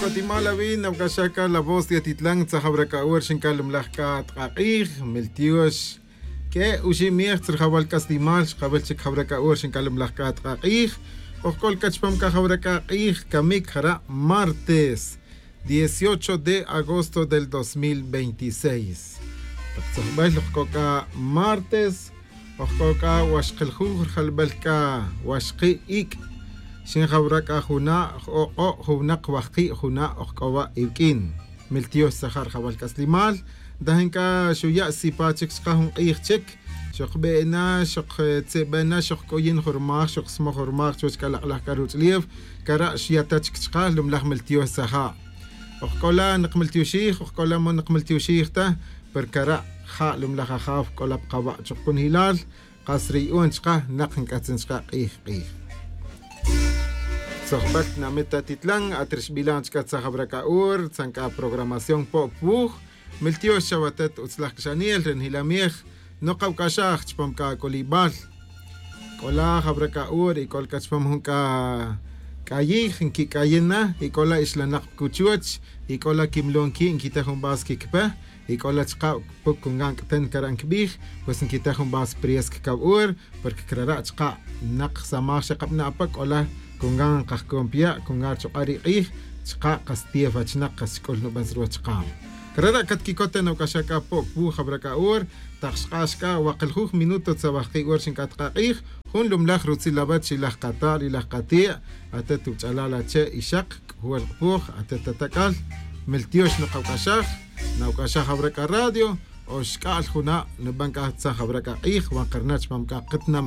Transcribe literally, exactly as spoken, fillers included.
Guatimala wi nawc'axaj c'a la voz de atitlan tzajawra c'a hora xinc'al lumlaj c'a tk'ak'ij miltiox. Q'ue' oxib miej tzrijawal c'aslimal xkawil chic jawra c'a hora xinc'al lumlaj c'a tk'ak'ij. Ojc'ol c'a chupam c'a jawra c'a k'ij camic jara' martes dieciocho de agosto del dos mil veintiséis. Tak tzojbel ojc'o c'a martes ojc'o c'a waxkiljuj rijalbel c'a waxki' ic'. Xin jawra c'a juna' j'ok'o' juwnak waxki' juna' ojc'o wa' iwq'uin. Miltiox tzaja' rijawal c'aslimal. Ntajin c'a xuya' sipa chic chka jun k'ij chic. Xokbe'na xoktzebena xokc'uyin jun rumaj xoksmoj jun rumaj chuwech c'a lak'laj c'a ruch'ulef. Cara' xya' ta chic chka lumlaj miltiox tzaja'. Ojc'ola' nikmiltioxij ojc'ola' man nikmiltioxij ta. Pero cara' ja' lumlaj ajaw c'ola' pa kawa' chukcunjelal. Kas re yu'un chka nak nc'atzin chka k'ij k'ij. Tzojbel tinamit atitlan at rixbilan chka tzajawra c'a hora tzan c'a programación po' puj. Miltiox chawa atet utzlaj cxanel re njilamej. Nokawc'axaj chupam c'a c'ulibal. C'ola' jawra c'a hora y c'ola' c'a chupam jun c'a c'ayij nquic'ayin na y c'ola' ixlanak pa cuchuch. Y c'ola' quimlon qui' nquita jun vas quiquipe. Y c'ola' chka' puc cungan c'ten cara' nquibij. Pues nquita jun vas priesca caw hora. Porque crara' chka' nak samaj xa kabana' ape c'ola' cungan kajcom piya' cungan richuk'a' ri k'ij. Chka' kas tief achinak kas chc'ul nuben ruwech chka'. Crara' catquicot ta nawc'axaj c'a po' puj jawra c'a hora. Tak xk'ax c'a wakiljuj minuto tzawajki' hora xinc'at k'a k'ij. Jun lumlaj rutzil awech ilaj kata' ilaj kati'. Atet wuch'alal ache' ixak c'uwel k'apuj atet atac'al. Miltiox nokawc'axaj. Nawc'axaj awra c'a radio. Oxc'a'l juna' nuben c'a tzaj awra c'a k'ij wan karna' chupam c'a katinamit.